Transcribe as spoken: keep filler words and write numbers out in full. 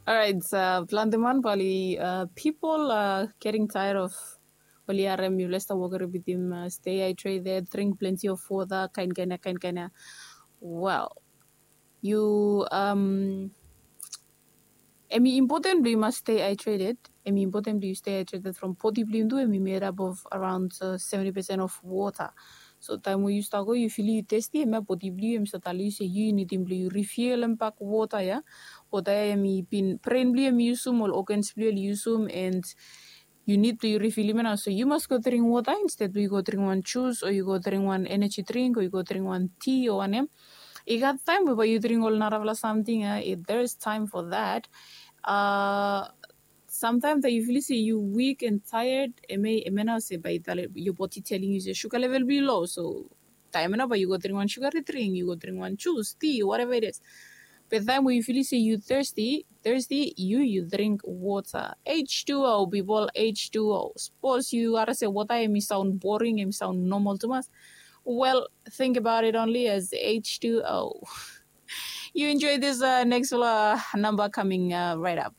Alright, uh, planti man bali uh, people uh, getting tired of oli harem yufala stap wokere bitim uh, stay hydrated, drink plenty of water, kain kain ya, kain kain ya. Well, you um, em i important blong yu mas stay hydrated. Em i important blong yu stay hydrated from body blong yu tu em i made up of around uh, seventy percent of water. So taem we yu stap go yu fili yu thirsty, em ya body blong yu em i stap tali yu se yu nidim blong yu refilem bak water ya. Water ya em i bin brain blong yu em i yusum, ol organs blong yu oli yusum, and yu nid blong yu refilim ya nao. So yu mas go dring water instead blong yu go dring wan jus o yu go dring wan energy drink o yu go dring wan tea o wanem. I gat taem we bae yu dring ol narafala samting ya. There is time for that. Uh, sometimes that yu fili se yu weak and tired, em ya nao se bae your body telling yu se sugar level blong yu low. So taem ya nao bae yu go dring wan sugary drink, yu go dring wan jus, tea, whatever it is. Be taem we yu fili se yu thirsty, thirsty, yu yu dring water. H two O, people, H two O. Sapos yu harem se water em i saon boring, em i saon normal tumas, well, think about it only as H two O. You enjoy this uh, next uh, number coming uh, right up.